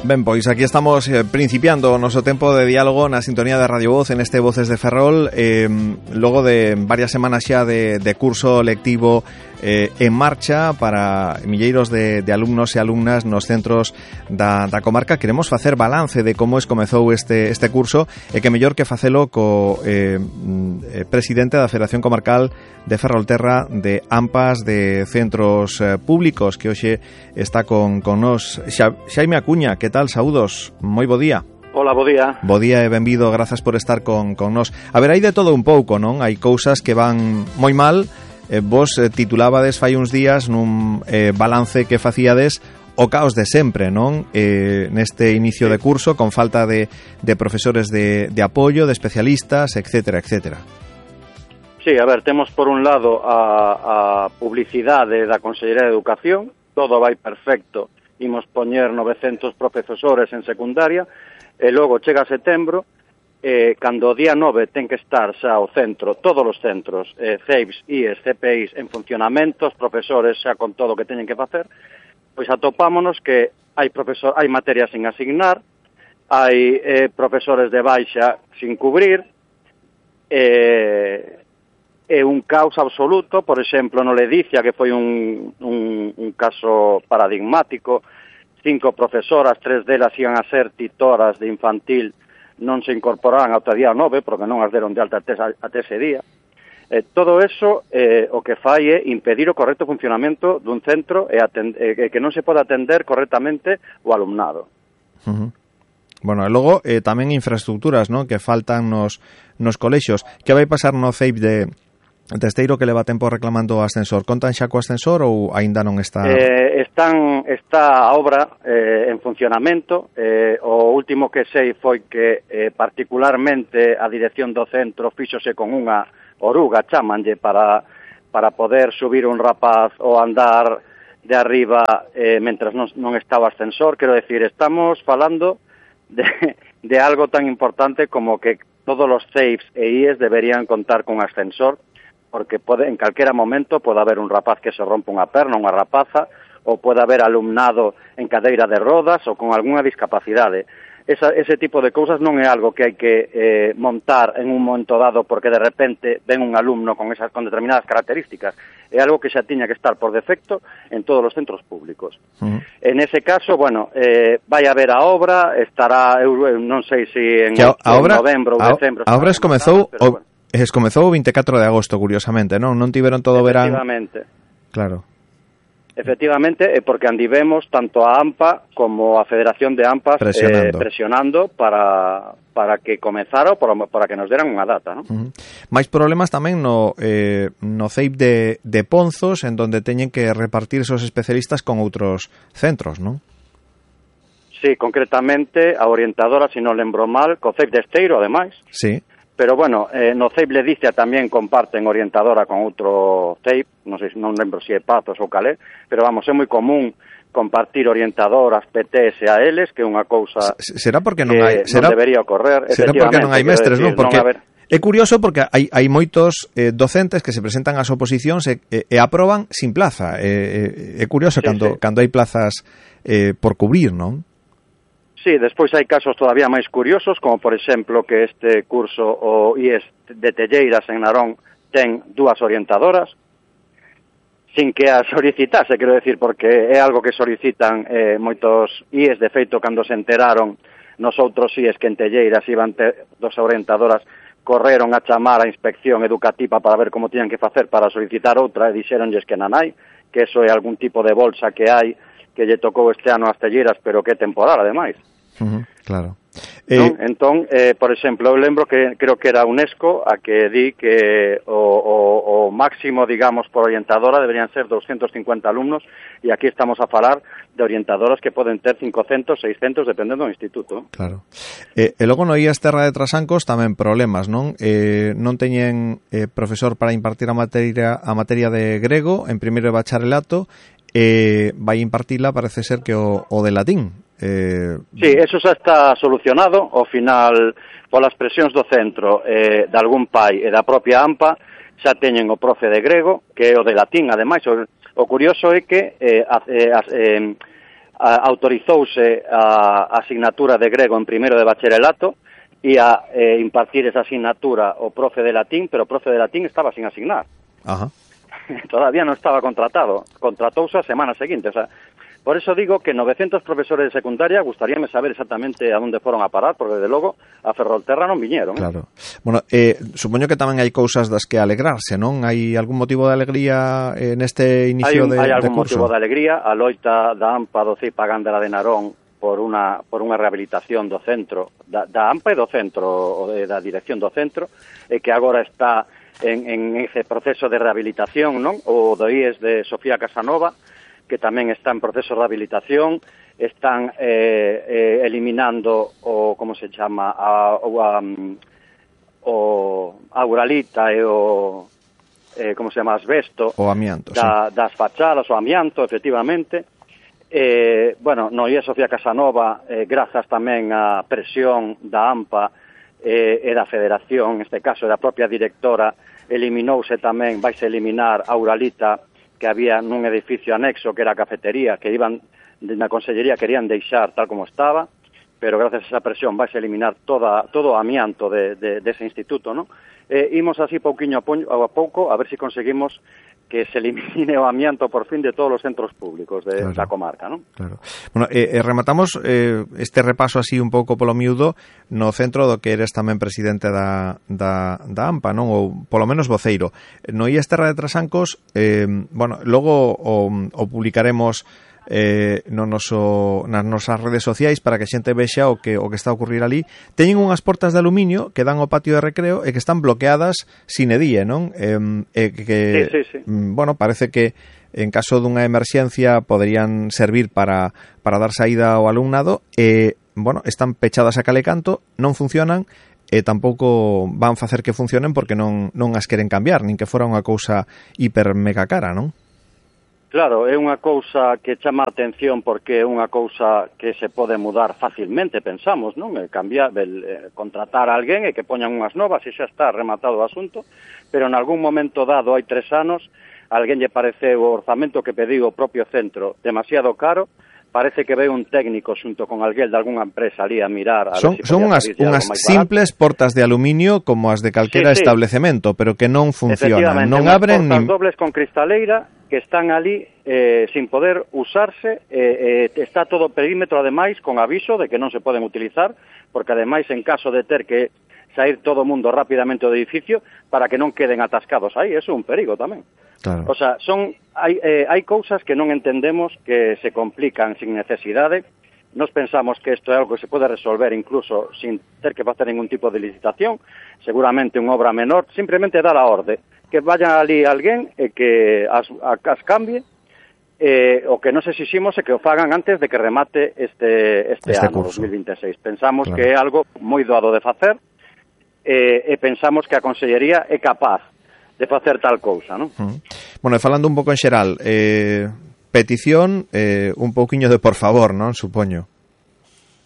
Ben, pois aquí estamos principiando o noso tempo de diálogo na sintonía de Radio Voz en este Voces de Ferrol, logo de varias semanas xa de curso lectivo en marcha para milleiros de alumnos e alumnas nos centros da comarca. Queremos facer balance de como comezou este curso e que mellor que facelo co presidente da Federación Comarcal de Ferrolterra de AMPAs de Centros Públicos, que hoxe está con nos. Xaime Acuña, que tal? Saúdos, moi bo día. Hola, bo día. Bo día e benvido, grazas por estar con nos. A ver, hai de todo un pouco, non? Hai cousas que van moi mal. Vos titulabades fai uns días nun balance que facíades o caos de sempre, non? Neste inicio de curso, con falta de profesores de apoio, de especialistas, etcétera, etcétera. Sí, a ver, temos por un lado a publicidade da Consellería de Educación, todo vai perfecto, imos poñer 900 profesores en secundaria, e logo chega setembro, cando o día 9 ten que estar xa o centro, todos os centros, CEIPs, IES, CPIs en funcionamento, os profesores xa con todo o que teñen que facer, pois atopámonos que hai materias sin asignar, hai profesores de baixa sin cubrir, é un caos absoluto. Por exemplo, no Ledicia, que foi un caso paradigmático, 5 profesoras, 3 delas iban a ser titoras de infantil, non se incorporaran ao día 9, porque non as deron de alta até ese día. Todo eso o que fai é impedir o correcto funcionamento dun centro e que non se pode atender correctamente o alumnado. Bueno, e logo tamén infraestructuras, non? Que faltan nos colexios. Que vai pasar no CEIP de Esteiro, que leva tempo reclamando o ascensor? Contan xa co ascensor ou aínda non está? Está a obra en funcionamento. O último que sei foi que particularmente a dirección do centro fíxose con unha oruga, chamanlle, para poder subir un rapaz ou andar de arriba mentras non está o ascensor. Quero decir, estamos falando de algo tan importante como que todos os CEIPs e IES deberían contar con ascensor, porque en calquera momento pode haber un rapaz que se rompe unha perna, unha rapaza, ou pode haber alumnado en cadeira de rodas ou con algunha discapacidade. Ese tipo de cousas non é algo que hai que montar en un momento dado porque de repente ven un alumno con determinadas características. É algo que xa tiña que estar por defecto en todos os centros públicos. En ese caso, bueno, vai haber a obra, estará, non sei se en novembro ou decembro. A obra comezou comezou o 24 de agosto, curiosamente, non? Non tiveron todo o verán. Efectivamente. Claro. Efectivamente, porque andivemos tanto a AMPA como a Federación de AMPAs presionando para que comezara ou para que nos deran unha data, non? Mais problemas tamén no CEIP de Ponzos, en donde teñen que repartir esos especialistas con outros centros, non? Sí, concretamente a orientadora, se non lembro mal, co CEIP de Esteiro, ademais. Sí. Pero bueno, no CEIP Ledicia tamén comparten orientadora con outro CEIP, non lembro se é Pazos ou Calé, pero vamos, é moi común compartir orientadoras, PTs e ALs, que é unha cousa será porque non hai, non debería ocorrer. Será porque non hai mestres, non? Porque é curioso porque hai moitos docentes que se presentan ás oposicións e aproban sin plaza. É curioso cando hai plazas por cubrir, non? Sí, despois hai casos todavía máis curiosos, como por exemplo que este curso o IES de Telleiras en Narón ten 2 orientadoras, sin que as solicitase, quero decir, porque é algo que solicitan moitos IES. De feito, cando se enteraron nos outros IES que en Telleiras iban ter 2 orientadoras, correron a chamar a inspección educativa para ver como tiñan que facer para solicitar outra, e dixeronlles que non hai, que eso é algún tipo de bolsa que hai, que lle tocou este ano ás Telleiras, pero que é temporal, ademais. Claro. Entón, por exemplo, eu lembro que creo que era UNESCO a que di que o máximo, digamos, por orientadora deberían ser 250 alumnos, e aquí estamos a falar de orientadoras que poden ter 500, 600, dependendo do instituto. Claro. E logo no IES Terra de Trasancos tamén problemas, non? Non teñen profesor para impartir a materia de grego en primeiro de bacharelato, vai impartila, parece ser que o de latín. Sí, eso xa está solucionado. Ao final, polas presións do centro, de algún pai e da propia AMPA, xa teñen o profe de grego, que é o de latín. Ademais, o curioso é que autorizouse a asignatura de grego en primeiro de bacharelato e a impartir esa asignatura o profe de latín, pero o profe de latín estaba sin asignar. Ajá. Todavía non estaba contratado, contratouse a semana seguinte, o sea, por eso digo que 900 profesores de secundaria gustaríame saber exactamente a onde foron a parar, porque desde logo a Ferrolterra non viñeron. Claro. Bueno, supoño que tamén hai cousas das que alegrarse, non? Hai algún motivo de alegría neste inicio de curso? Hai algún motivo de alegría. A loita da AMPA do CIPA Gándara de Narón por unha rehabilitación do centro, da AMPA e do centro, da dirección do centro, e que agora está en ese proceso de rehabilitación, non? O do IES de Sofía Casanova, que tamén está en proceso de rehabilitación, están eliminando o, como se chama, o auralita e o, como se chama, asbesto, o amianto, das fachadas, o amianto, efectivamente. Bueno, no IES Sofía Casanova, grazas tamén á presión da AMPA e da Federación, neste caso da propia directora, eliminouse tamén, vaise eliminar a auralita que había nun edificio anexo que era a cafetería, que iban na Consellería, querían deixar tal como estaba, pero gracias a esa presión vaise eliminar todo o amianto dese instituto, non? Imos así pouquiño a pouco a ver se conseguimos que se elimine o amianto por fin de todos os centros públicos da comarca, non? Claro. Bueno, rematamos este repaso así un pouco polo miúdo no centro do que eres tamén presidente da AMPA, non? Ou polo menos voceiro. No IES Terra de Trasancos, bueno, logo o publicaremos nas nosas redes sociais para que a xente vexa o que está a ocurrir ali. Teñen unhas portas de aluminio que dan ao patio de recreo e que están bloqueadas sine die, non? Sí. Bueno, parece que en caso dunha emerxencia poderían servir para dar saída ao alumnado e, bueno, están pechadas a cal e canto, non funcionan e tampouco van facer que funcionen porque non as queren cambiar, nin que fora unha cousa hiper mega cara, non? Claro, é unha cousa que chama a atención porque é unha cousa que se pode mudar facilmente, pensamos, non? Contratar a alguén e que poñan unhas novas e xa está rematado o asunto, pero en algún momento dado, hai 3 anos, alguén lle pareceu o orzamento que pediu o propio centro demasiado caro, parece que ve un técnico xunto con alguén de algunha empresa ali a mirar. Son unhas simples portas de aluminio como as de calquera establecemento, pero que non funcionan, non abren portas dobles con cristaleira que están ali sin poder usarse, está todo o perímetro ademais con aviso de que non se poden utilizar, porque ademais en caso de ter que sair todo o mundo rapidamente do edificio para que non queden atascados aí, eso é un perigo tamén. Claro. O sea, hai cousas que non entendemos que se complican sin necesidade. Nos pensamos que isto é algo que se pode resolver incluso sin ter que facer ningún tipo de licitación, seguramente unha obra menor, simplemente dar a orde, que vaya ali alguén e que as cambie, o que nos exiximos é que o fagan antes de que remate este ano, curso. 2026. Pensamos que é algo moi doado de facer, e pensamos que a Consellería é capaz de facer tal cousa, non? Bueno, e falando un pouco en xeral, petición, un pouquiño de por favor, non? Supoño.